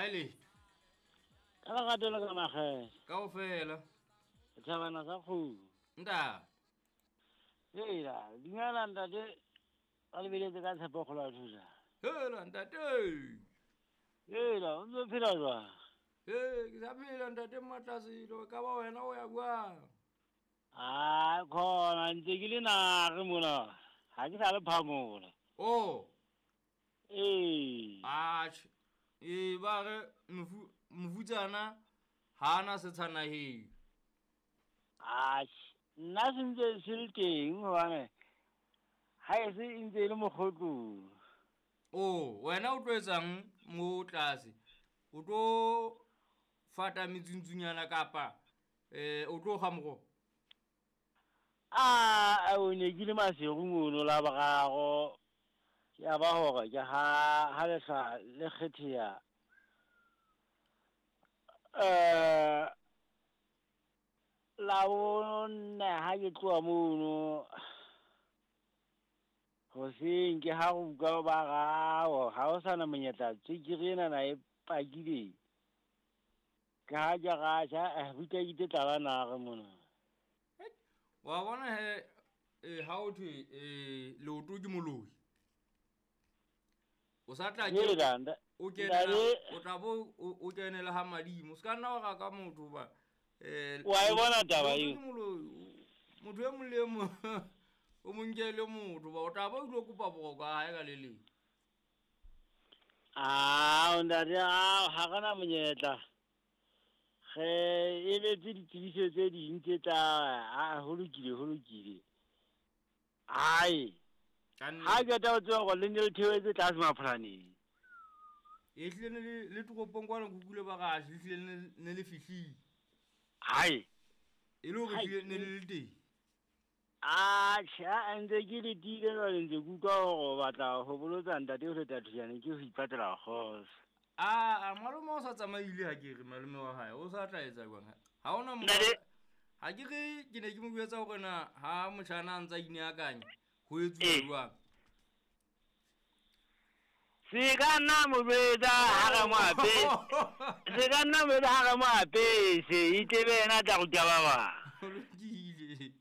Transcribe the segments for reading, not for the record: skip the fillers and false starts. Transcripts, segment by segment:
Ha e letho. Ka lerato le ka makgethe. Kaofela. Setjhabana sa kgomo. Ntate. Hela, dumela ntate. Ba lebeletse ka tshepo kgolo ya thusa. Hela ntate. Hela, o ntse o phela jwang? Ee, ke sa phela ntate Mmatlaselo, ka ba wena o ya jwang? Ai, khona ntse ke le nare mona. Ha ke sa le phamola. Oh. Ee. Atjhe. Ee, ba re mofutsana ha ana setsha naheng. Atjhe, nna se ntse se le teng hobane ha e se e ntse e le mokgotlong. Oh, wena o tlo etsang mo tlase? O tlo fata metsuntsunyana kapa o tlo kga moroho? A o ne ke le maseru mono la boraro. Ya ba hore ke ha ha lehlwa le kgetheha. La bone ha ke tloha mono hoseng ke ha re utlwa ba rao ha ho sana monyetla tswekere ena na e pakile. Ke ha ke ratjha buka ke tla ba nare mona. Wa bona he ha o thwe leoto ke moloi. O sa tla ke o kenela o tla bo o kenela ha madimo. Se ka nna wa raka motho ba wa e bona taba eo. Motho e mong le e mong o mo nkele motho ba o tla ba o ilo kopa boroko ha hae ka le leng. Ah, ntate, ah, ha re na monyetla. Re emetse ditsebiso tse ding tse tla ah, ho lokile, ho lokile. Ai. Ha ke ta o tseba hore le ne le theohetse tlase mapholaneng. E hlile ne le toropong kwana kukule ba gaše, le hlile ne le fihlile. Hai. E le hore hlile ne le le teng. Atjhe, a ntse ke letile jwale ntse ke utlwa hore o batla ho bolotsa ntate o feta thujane ke ho ipatela kgotso. A malome o sa tsamaile ha ke re malome wa hae o sa tla etsa jwang? Ha ona mo ha ke re ke ne ke mo jwetsa hore na ha motjhana a ntsa ineakanya ho etsuwa jwang? Se ka nna mo jwetsa ha re mo apese. Se ka nna mo jwetsa ha re mo apese, e tlebe yena a tla ruta ba bang. Ho lokile.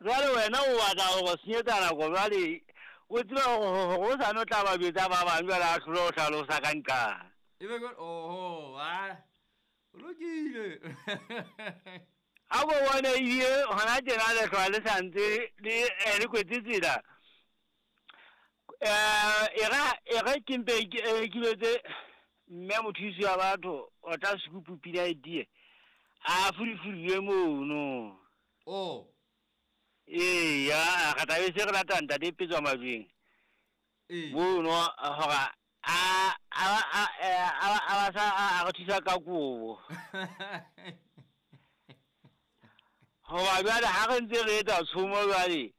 Jwale wena o batla hore senyetsa nako jwale o tseba hore o sa no tla ba jwetsa ba bang jwale a hlole ho hlalosa ka nqane. Ebe ke oho, ah. Ho lokile. A bo bone ebile hona tjena lehlwa le sa ntse le kwetse tsela. E re ke mpe ke letse mme mothusi wa batho o tla sekupu pina e tie. A furifuriwe mono. Oh. Ee, ya re tla be se re lata ntate Petswa Majweng. Ee. Mono hore a ba sa a re thusa ka kobo. Hoba jwale ha re ntse re etsa tshomo jwale,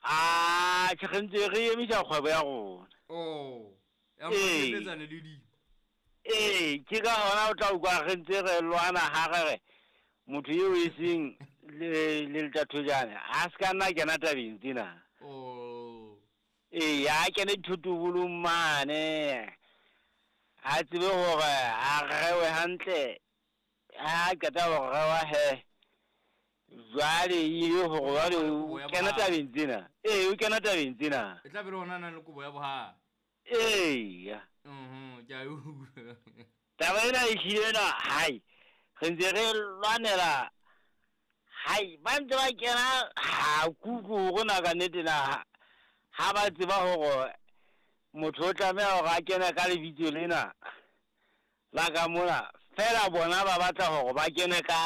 a tjhe re ntse re emisa kgwebo ya rona. Oh. Ya mo le di. Ee, ke ka hona o tla utlwa re ntse re lwana ha re re motho eo e seng le letathojane a se ka nna kena tabeng tsena. Oh. Ee, a kene dithotobolong mane. A tsebe hore a rewe hantle. Ha qeta ho rewa he. Jwale e hore jwale o kena tabeng tsena. Ee, o kena tabeng tsena. E tla be le hona nang le kobo ya bohale. Ee. Ke a utlwa. Taba ena e hlile ena, hai. Re ntse re lwanela. Hai, ba ntse ba kena ha kuku hore na ka nnete na ha ba tseba hore motho o tlameha hore a kene ka lebitso lena la ka mona. Feela bona ba batla hore ba kene ka